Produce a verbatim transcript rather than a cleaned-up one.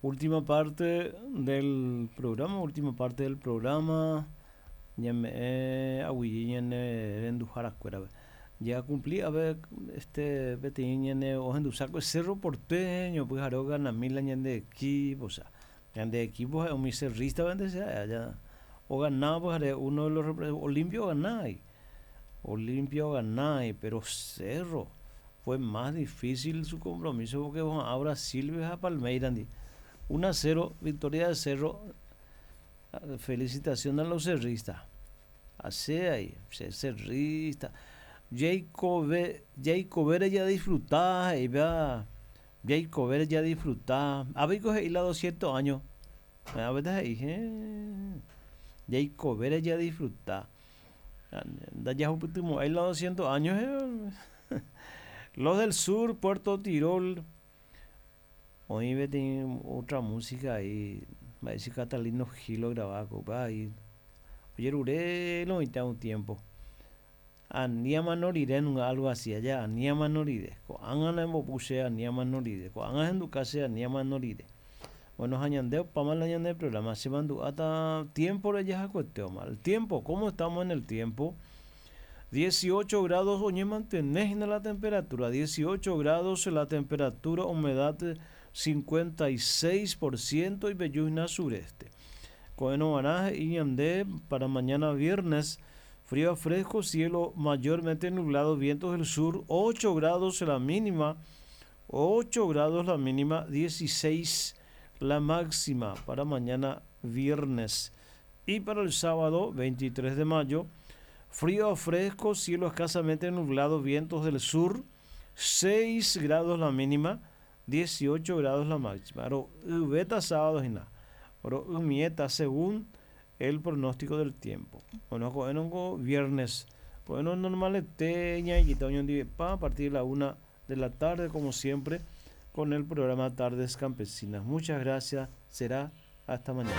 Última parte del programa, última parte del programa. Ñame'ẽ aguyje ñane renduharakuérape. Ya cumplí, a ver, este, peteĩ ñane ohendusáko Cerro Porteño, pyhare oganami la ñande equipo, o sea, ñande equipo ha'e umi cerrista che allá oganá pyhare uno de los Olimpia oganái, Olimpia oganái, pero Cerro fue más difícil su compromiso porque oha'ã Brasil ha Palmeiras-ndi. uno a cero, victoria de Cerro. Felicitación a los cerristas. Así ahí, cerrista. Jacob, Jacob ya disfrutá, y vea, Jacob ya disfrutá. A ver, coge la doscientos años. A ver, ahí, eh. Jacob ya disfrutá. Ya ahí la doscientos años. Eh. Los del sur, Puerto Tirol. Hoy otra música ahí. Va a decir Catalino Gil lo grababa, ahí. Oye, lo un tiempo. Aniama norire algo así allá, aniama norire. Ko'ág̃a nembopuse aniama norire. Ko'ág̃a hendukase aniama norire. Bueno, hañandeo pa la ñande programa se mandu'áta tiempo rejahakuetéoma. El tiempo, ¿cómo estamos en el tiempo? dieciocho grados, oye, mantenés la temperatura, dieciocho grados la temperatura, humedad cincuenta y seis por ciento y belluzna sureste. Coeno Baraje y Ñandé para mañana viernes, frío a fresco, cielo mayormente nublado, vientos del sur, ocho grados la mínima, ocho grados la mínima, dieciséis la máxima para mañana viernes. Y para el sábado veintitrés de mayo, frío a fresco, cielo escasamente nublado, vientos del sur, seis grados la mínima, dieciocho grados la máxima. Pero beta sábado y nada. Pero mieta según el pronóstico del tiempo. Bueno, bueno, viernes. Bueno, normal teña y a partir de la una de la tarde, como siempre, con el programa Tardes Campesinas. Muchas gracias. Será hasta mañana.